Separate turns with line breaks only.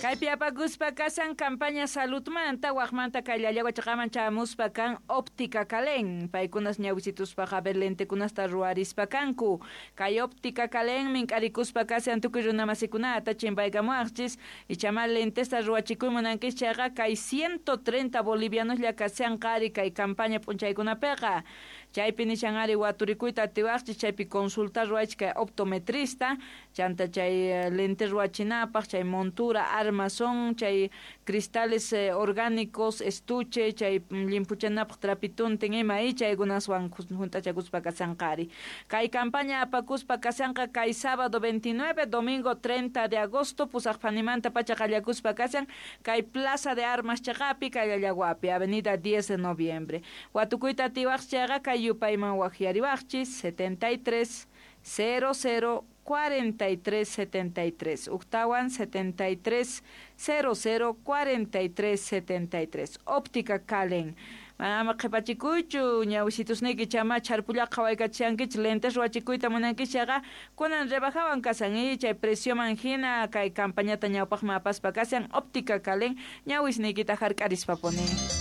Kaypi apakuspa kasan campaña saludmanta wajmanta kay Llallagua chaqaman chamuspa kan Óptica Calen. Paykunas ñawisituspaqa ver lentekunasta ruwarispa kanku. Kay Óptica Calen mink'arikuspa kasan tukuy runamasikunata chimpaykamuwaqchis ichama lentesta ruwachikuy munankis chayqa kay 130 bolivianoslla kasan qari kay campaña p'unchaykunapiqa. Chaypi nishan ari waturikuyta atiwaqchis chaypi consulta ruwaychis kay optometrista chanta chay lente ruwachinapaq chay montura armazón chay cristales orgánicos estuche chay limpuchanapaq trapituntin ima y chaykunaswan junt'achakuspa kasanqari. Kay campaña apakuspa kasanqa kay sábado 29 domingo 30 de agosto pusaq phanimanta pacha qallakuspa kasan kay Plaza de Armas chaqapi kay Llallaguapi avenida 10 de noviembre. Watukuyta atiwaq chayqa kay yupayman waqyariwaqchis 73 00 43 73 Uktawan 73 00 43 73 Óptica Calen. Ama qhipachikuychu ñawisitusniyki chama chharpullaqa qhawaykachishankichik lentes ruwachikuyta munankich chayqa kunan rebajawan kasan y chay precioman hina kay campañata ñawpaqman apaspa kasan Óptica Calen ñawisniykita hark'arispapuni.